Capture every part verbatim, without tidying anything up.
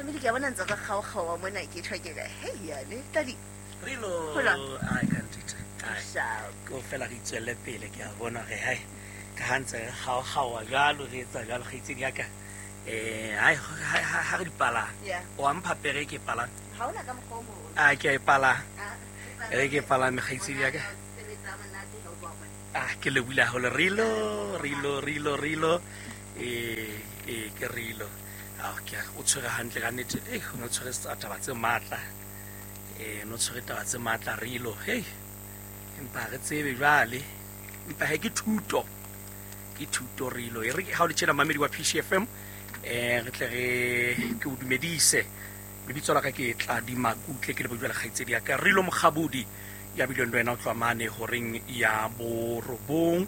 Mamedi, ke a bona ntse re kgaokgaoa mona, ke tjho ke re, hei yane, Tladi. Rilo, Ho jwang? Ai, ka ntete. Ai. Sharp. Ko fela re itswelle pele, ke a bona hore hai, ka ha ntse re kgaokgaoa jwalo, re etsa jwalo, kgaitsedi ya ka. Eh, hai, ha, ha, ha re di palame. Yeah. O a mpha pere ke e palame. Ha hona ka mokgwa o mong. Ah, ke a e palama. Ah, E ke e palame, kgaitsedi ya ka. Sebetsa monate ha o tloha mona. Ah, ke lebohile haholo. Rilo, Rilo, Rilo, Rilo. Eh, eh, ke Rilo. Ah, ke a, o tshwere hantle ka nnete. Eh, o no tshwere tsa taba tse matla. Eh, no tshwere taba tse matla Rilo. Hey. Empa re tsebe jwale. Empa he ke thuto. Ke thuto Rilo. E re ha o le tjena mamedi wa P C F M, eh, re tle re ke o dumedise. Lebitso la ka ke Tladi Makutle, ke le bojwale kgaitsedi ya ka Rilo Mokgabudi, ya bileng le wena o tloha mane horeng ya borobong,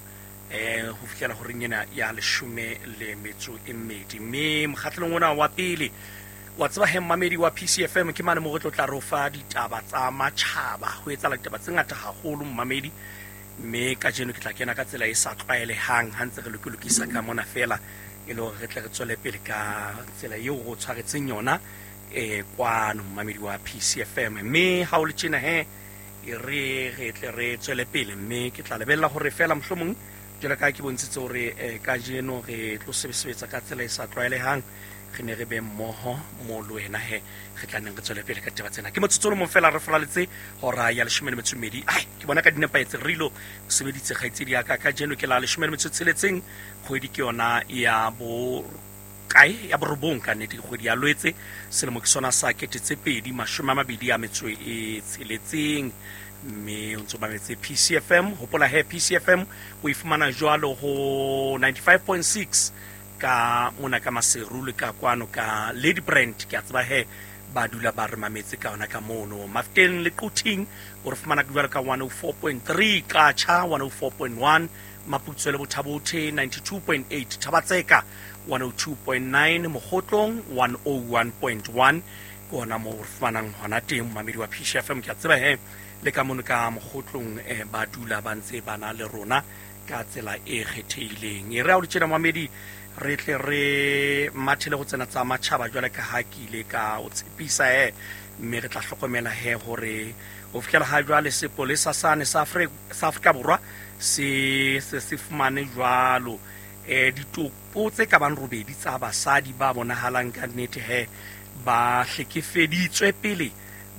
eh, ho fihlela horeng ena ya leshome le metso e mmedi. Mme mokgahlelong ona wa pele, wa tseba he mmamedi wa P C F M ke mane moo re tlo tla re o fa ditaba tsa matjhaba. Ho etsahala ditaba tse ngata haholo mmamedi, mme kajeno ke tla kena ka tsela e sa tlwaelehang ha ntse re lokolokisa ka mona fela, e le hore re tle re tswele pele ka tsela eo re o tshwaretseng yona, eh, kwano mmamedi wa P C F M. Mme ha o le tjena he, e re re tle re tswele pele, mme ke tla lebella hore fela mohlomong jwalo ka ha ke bontshitse hore, eh, kajeno re tlo sebetsa ka tsela e sa tlwaelehang, re ne re be mmoho mo le wena he, re tla neng re tswele pele ka ditaba tsena. Ke motsotso o le mong fela re folaletse hora ya leshome le metso e mmedi. Ai, ke bona ka di nepahetse, Rilo o sebeditse kgaitsedi ya ka. Kajeno ke la leshome le metso e tsheletseng, kgwedi ke yona ya bo kae, ya borobong ka nnete, ke kgwedi ya Lwetse, selemo ke sona sa kete tse pedi mashome a mabedi a metso e tsheletseng. Mme o ntso mametse P C F M. Hopola he P C F M o e fumana jwalo ho ninety-five point six ka mona ka Maseru le ka kwano ka Lady Brand. Ke a tseba he ba dula ba re mametse ka yona ka mono. Mafteng le Quthing o re fumana jwalo ka one oh four point three, Qacha one oh four point one, Maputswe le Bothabothe ninety-two point eight, Thabatseka one oh two point nine, Mokgotlong one oh one point one. Ke hona moo re fumanang hona teng momamedi wa P C F M. Ke a tseba he le ka mono ka Mokgotlong, eh, ba dula ba ntse ba na le rona ka tsela e kgethehileng. E re ha o le tjena momamedi, re tle re mathele ho tsena tsa matjhaba jwale ka ha ke ile ka o tshepisa he, mme re tla hlokomela he hore ho fihlela ha jwale sepolesa sane sa Afri-, sa Afrika Borwa se, se, se fumane jwalo, eh, ditopo tse ka bang robedi tsa basadi ba bonahalang ka nnete he ba hlekefeditswe pele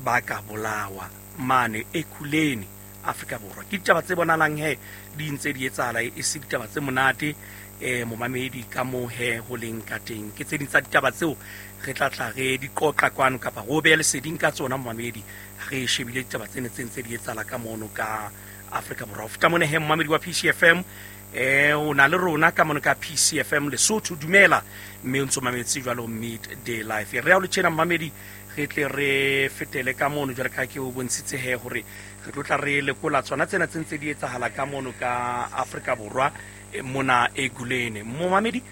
ba ka bolawa mane Ekurhuleni, Afrika Borwa. Ke ditaba tse bonahalang he di ntse di etsahala, e se ditaba tse monate, eh, momamedi ka moo he ho leng ka teng. Ke tse ding tsa ditaba tseo re tla tla re di qoqa kwano kapa re o behe leseding ka tsona momamedi, re shebile ditaba tsena tse ntse di etsahala ka mono ka Afrika Borwa. Ho feta mona he momamedi wa P C F M, eh, o na le rona ka mono ka P C F M Lesotho, dumela, mme o ntso mametse jwalo Midday Life. Re ya o le tjena momamedi, re tle re fetele ka mono jwalo ka ha ke o bontshitse he hore re tlo tla re lekola tsona tsena tse ntse di etsahala ka mono ka Afrika Borwa, eh, mona Ekurhuleni. Momamedi,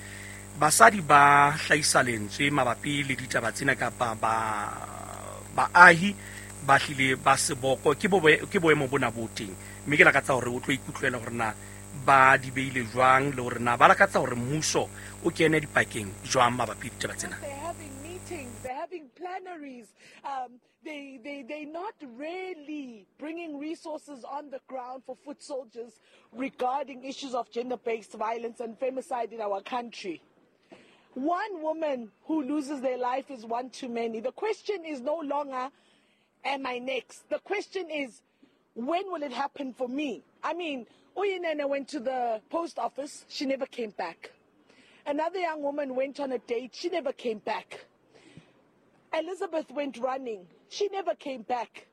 basadi ba hlahisa lentswe mabapi le ditaba tsena kapa ba, baahi ba hlile ba seboko, ke bo-, ke boemo bona bo teng. Mme ke lakatsa hore o tlo ikutlwela hore na ba di beile jwang le hore na ba lakatsa hore mmuso o kene dipakeng jwang mabapi le ditaba tsena. They're having meetings, they're having plenaries. Um, they, they, they're not really bringing resources on the ground for foot soldiers regarding issues of gender-based violence and femicide in our country. One woman who loses their life is one too many. The question is no longer, am I next? The question is, when will it happen for me? I mean, Uyinene went to the post office. She never came back. Another young woman went on a date. She never came back. Elizabeth went running. She never came back.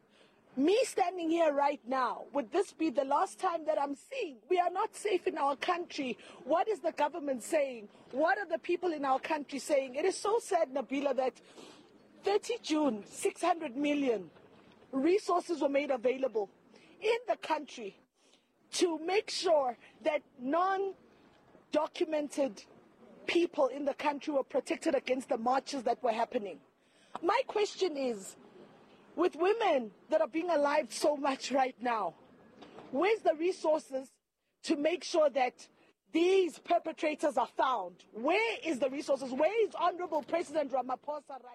Me standing here right now, would this be the last time that I'm seen? We are not safe in our country. What is the government saying? What are the people in our country saying? It is so sad, Nabila, that thirty June, six hundred million resources were made available in the country to make sure that non-documented people in the country were protected against the marches that were happening. My question is, with women that are being alive so much right now, where's the resources to make sure that these perpetrators are found? Where is the resources? Where is Honorable President Ramaphosa right now?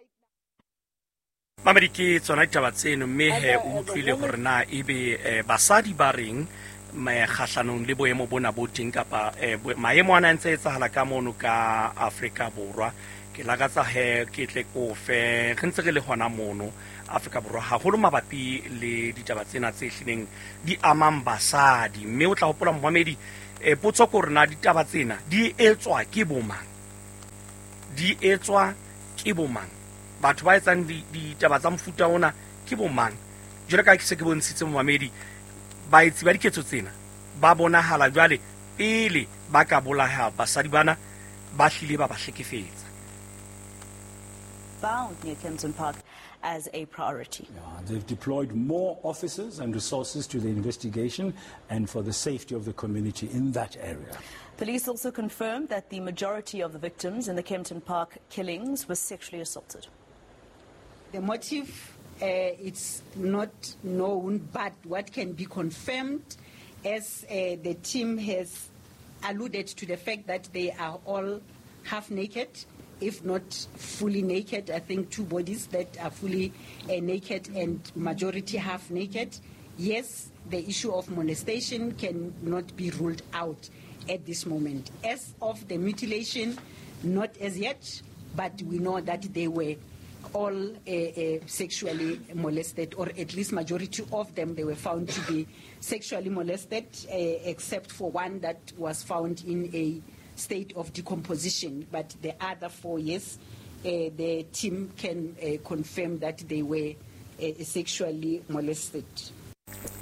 Mamedi, ke tsona ditaba tseno, mme he o utlwile hore na ebe eh, basadi ba reng kgahlanong le boemo bona bo teng kapa eh, maemo ana a ntse etsahala ka mono ka Afrika Borwa. Ke lakatsa he ke tle ko fe re ntse re le hona mono Afrika Borwa haholo mabapi le ditaba tsena tse hlileng di amang basadi. Mme o tla hopola momamedi, eh, potso ke hore na ditaba tsena di etswa ke bomang, di etswa ke bomang, batho ba etsang ditaba tsa mofuta ona ke bomang. Jwale ka ke se ke bontshitse momamedi, baetsi ba diketso tsena ba bonahala jwale pele ba ka bolaya basadi bana ba hlile ba ba hlekefetsa. Found near Kempton Park as a priority. Yeah, they've deployed more officers and resources to the investigation and for the safety of the community in that area. Police also confirmed that the majority of the victims in the Kempton Park killings were sexually assaulted. The motive, uh, it's not known, but what can be confirmed, as uh, the team has alluded to the fact that they are all half naked, if not fully naked. I think two bodies that are fully uh, naked and majority half naked. Yes, the issue of molestation cannot be ruled out at this moment. As of the mutilation, not as yet, but we know that they were all uh, uh, sexually molested, or at least majority of them, they were found to be sexually molested, uh, except for one that was found in a state of decomposition. But the other four, yes, uh, the team can uh, confirm that they were uh, sexually molested.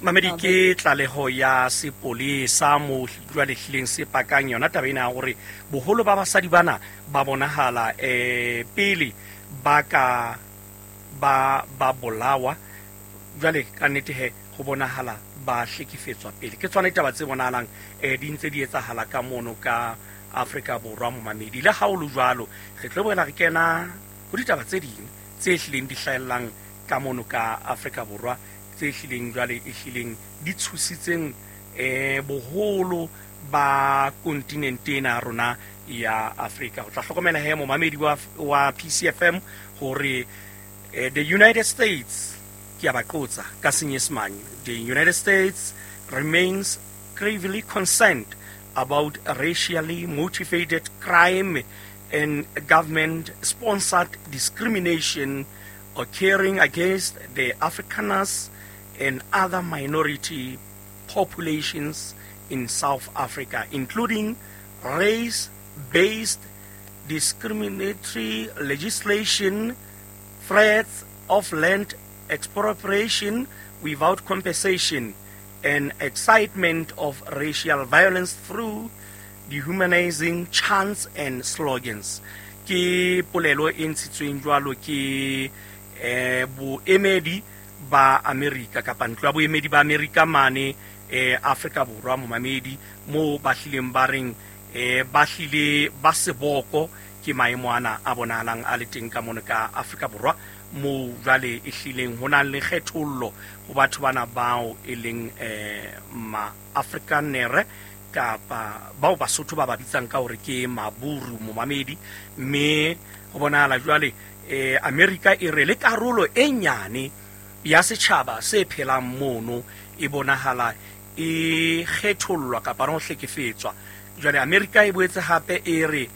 Mamedi, ke tlaleho ya sepolesa mo jwale hlileng se pakang yona taba ena ya hore boholo ba basadi bana ba bonahala eh pele ba ka ba ba bolawa. Jwale ka nnete he ho bonahala ba hlekefetswa pele. Ke tsona ditaba tse bonahalang eh di ntse di etsahala ka mono ka Afrika Borwa momamedi. Le ha o le jwalo, re tlo boela re kena ho ditaba tse ding tse hlileng di hlahellang ka mono ka Afrika Borwa, tse hlileng jwale e hlileng di tshositseng eh boholo ba kontinente ena ya rona ya Afrika. O tla hlokomela he momamedi wa wa P C F M hore eh, the United States, ke a ba qotsa ka Senyesemane, the United States remains gravely concerned about racially motivated crime and government-sponsored discrimination occurring against the Afrikaners and other minority populations in South Africa, including race-based discriminatory legislation, threats of land expropriation without compensation, and excitement of racial violence through dehumanizing chants and slogans. Ke polelo e ntshitsweng jwalo ke eh boemedi ba Amerika kapa ntlo ya boemedi ba Amerika mane eh Afrika Borwa momamedi, mo ba hlileng ba reng eh ba hlile ba seboko ke maemo ana a bonahalang a le teng ka mono ka Afrika Borwa, mo jwale e hlileng ho na le kgethollo ho batho bana bao e leng eh ma Afrikanere kapa bao Basotho ba ba bitsang ka hore ke maburu momamedi. Mme ho bonahala jwale eh Amerika e re le karolo e nyane ya setjhaba se phelang mono e bonahala e kgethollwa kapa ho hlekefetswa. Jwale Amerika e boetse hape e re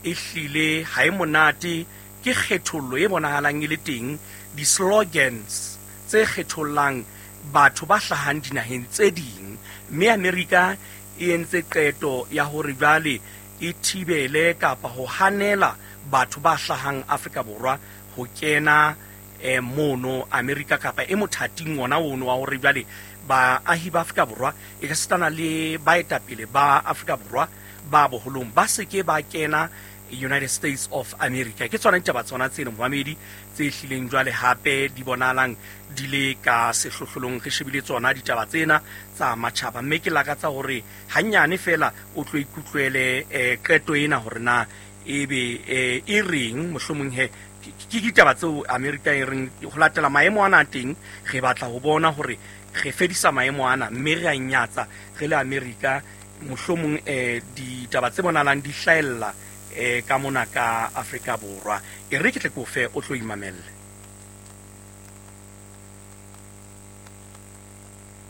e hlile ha e monate ke kgethollo e bonahalang e le teng, di-slogans tse kgethollang batho ba hlahang dinaheng tse ding. Mme Amerika e entse qeto ya hore jwale e thibele kapa ho hanela batho ba hlahang Afrika Borwa ho kena eh, mono Amerika kapa e mothating ona ono wa hore jwale baahi ba Afrika Borwa e ka sitana le baetapele ba Afrika Borwa ba boholong ba se ke ba kena United States of America. Ke tsona ditaba tsona tseno momamedi tse hlileng jwale hape di bonahalang di le ka sehlohlolong. Re shebile tsona ditaba tsena tsa matjhaba, mme ke lakatsa hore hanyane fela o tlo ikutlwele eh, qeto ena hore na ebe eh, e reng mohlomong he ke ditaba tseo Amerika e reng ho latela maemo ana a teng re batla ho bona hore re fedisa maemo ana, mme re a nyatsa re le Amerika mohlomong eh, ditaba tse bonahalang di hlahella eh ka mona ka Afrika Borwa. E re ke tle ke o fe o tlo imamelle.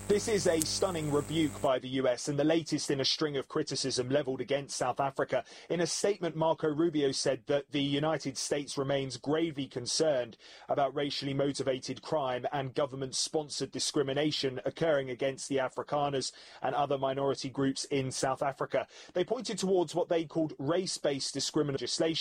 This is a stunning rebuke by the U S and the latest in a string of criticism levelled against South Africa. In a statement, Marco Rubio said that the United States remains gravely concerned about racially motivated crime and government-sponsored discrimination occurring against the Afrikaners and other minority groups in South Africa. They pointed towards what they called race-based discrimination legislation